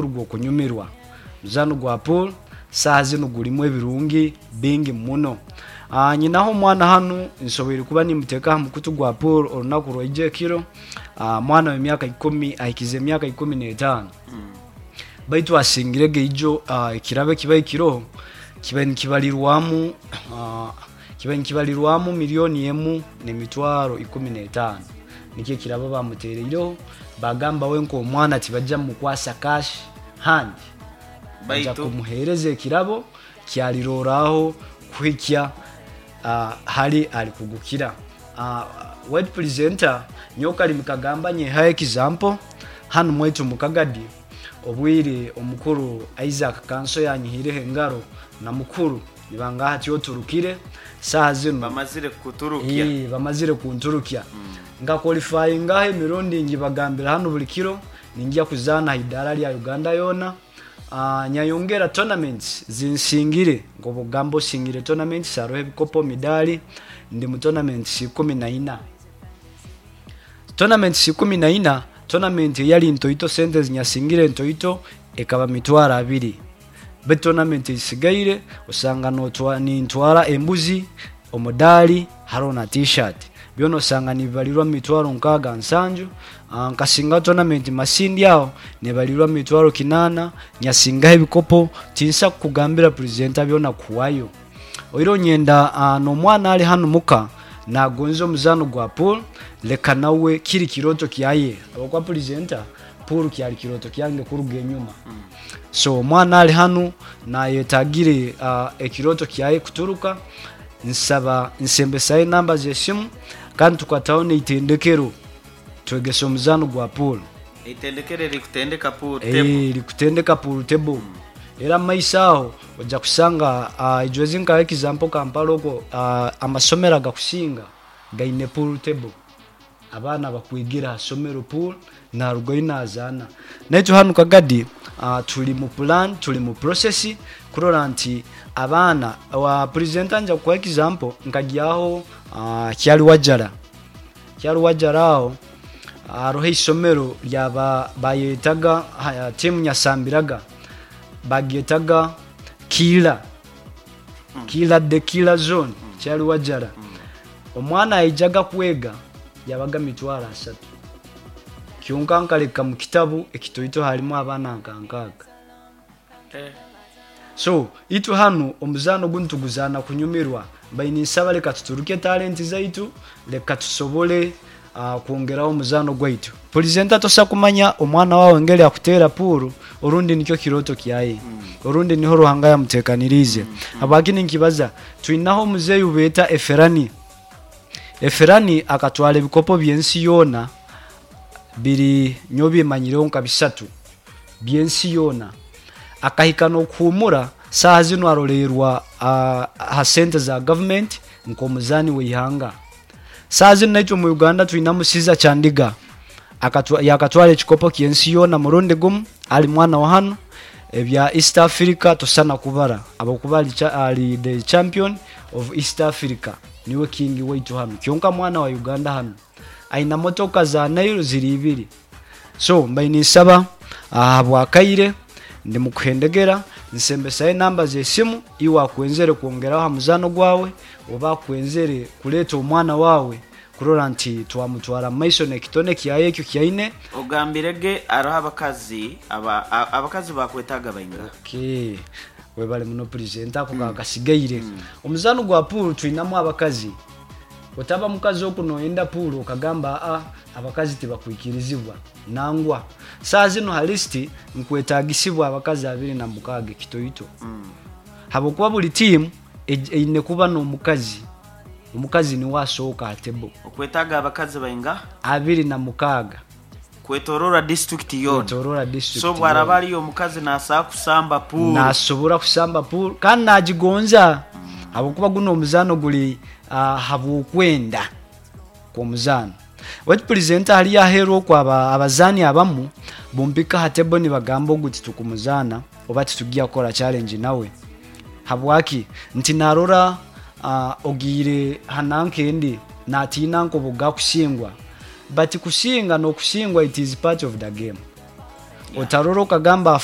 Gw'okunyumirwa. Omuzaano gwa pool saaha zinu gurimu ebirungi bingi muno. Nyinaho omwana hanu nsoboire kuba nimuteeka aha mukutu gwa pool orunaku rwaija ekiro. Mwana w'emyaka ikumi ahikize emyaka 15 baitu asingire ge ijo ekirabo ekibaire kiroho kibaire nikibarirwamu kibaire nikibarirwamu milioni emu n'emitwaro 15 nikyo ekirabo bamutereireho. Bagamba we nk'omwana tibajja mumukwasa cash hand, baija Baitu kumuheereza ekirabo kyaliroraho kuhikya hali ali kugukira. Word presenter, nyowe Kalimi Kagamba nyehayo example, hanu mwaitu mu Kagadi obwire omukuru Isaac Kanso yanyihireho engaro na mukuru nibangaha hati oturukire saaha zinu. Bamazire kukuturukya. Bamazire kunturukya. Nka qualifyingaho emirundi ngibagambira hanu buri kiro ningya kuzaana aha idaara rya Uganda yoona. Nyayongera tournaments zinsingire nk'obugamba osingire tournaments hariho ebikopo, midaali, ndi mu tournaments 14. Tournaments 14, tournament eyari ntoito sente ezinyasingire ntoito ekaba 20,000. Beitu tournament ezisigaire osanga nintwara embuzi, omudaari hariho na t-shirt. Byona osanga nibibarirwa mu 60,000 7,000. Nkasingaho tournament Masindi aho nebarirwa mu 800,000, nyasingaho ebikopo. Tinsa kukugambira presenter byona kuhwayo. Oihireho nyenda n'omwana ari hanu muka nagonza omuzaano gwa pool leka nawe kiri kirooto kyaye ahabw'okuba presenter pool kyari kirooto kyange kuruga enyuma. So omwana ari hanu nayetagire ekirooto kyaye kuturuka, nsaba nsembesayo enamba z'esimu kandi tukataho n'eitendekero twegese omuzaano gwa pool. Eitendekero erikutendeka pool table. Erikutendeka pool table. Era omu maiso aho oija kushanga ijo ezi nka example Kampala okwo amasomero agakusinga gaine pool table. Abaana bakwigira aha somero pool narugayo nazaana. Naitwe hanu Kagadi turi mu plan, turi mu process kurora nti abaana, presenter nija kukuha example nkagyaho Kyaliwajjala. Kyaliwajjala aho hariho eisomero rya bayetaga tiimu Nyasambiraga bagyetaga Kiila, Kiila the Kiila zone Kyaliwajjala. Omwana yaijaga kwega yabaga 30,000 kyonka nkareka mu kitabu ekitoito harimu abaana nka 60. So itwe hanu omuzaano ogu nituguzaana kunyumirwa. Mbaire ninsaba reka tuturuke talenti zaitu, reka tusobole kwongeraho omuzaano gwaitu. Purezenta tosa kumanya omwana waawe engeri akuteera puuru orundi nikyo kirooto kyaye, orundi niho Ruhanga yamuteekaniriize. Habwaki ninkibaza? Twinaho omuzeeyi ou beeta Eferani. Eferani akatwara ebikopo by'ensi yoona biri nyowe bimanyireho nka bisatu by'ensi yoona. Akahika n'okuhuumura, saaha zinu aroreerwa aha sente za gavumenti nk'omuzaani w'eihanga. Saaha zinu naitwe omu Uganda twinamu Caesar Chandiga, yaakatwara ekikopo ky'ensi yoona murundi gumu ari mwana wa hanu. Ebya East Africa tosana kubara ahabw'okuba ari the champion of East Africa, niwe king waitu hanu. Kyonka mwana wa Uganda hanu aine motoka za Nile ziri ibiri. So mbaire ninsaba ahabw'akaire ndi mukuhendegera nsembesayo enamba z'esimu iwe akwenzere kwongeraho aha muzaano gwawe oba akwenzere kureeta omwana waawe kurora nti twamutwara mu maiso n'ekitone kyaye ekyo kyaine. Ogambire ge hariho abakazi aba abakazi bakwetaaga baingaha? Okay, webale muno presenter ako kakasigaire. Omuzaano gwa pool twinamu abakazi. Otaba mukazi oku noyenda pool okagamba aa abakazi tibakwikirizibwa. Nangwa. Saaha zinu ha list nkwetagisibwa abakazi 26 ekitoito. Habwokuba buri team eine kuba n'omukazi. Omukazi niwe asooka aha table. Okwetaaga abakazi baingaha? 26. Kwetorora district yoona. Kwetorora district So obwo araba yoona. ariyo omukazi nasobola kusamba pool. Nasobora kusamba pool kandi nagigonza habwokuba gunu omuzaano guri ahabw'okwenda kw'omuzaano. Baitu purezenta hariya aheeru okwo abazaani abamu bumpika aha table nibagamba ogu titukumuzaana oba titugya kukora challenge nawe. Habwaki? Nti narora ogiire ha nanka endi natiina nka obu gakusingwa. But kusinga n'okusingwa it is part of the game. Otarora okagamba afa.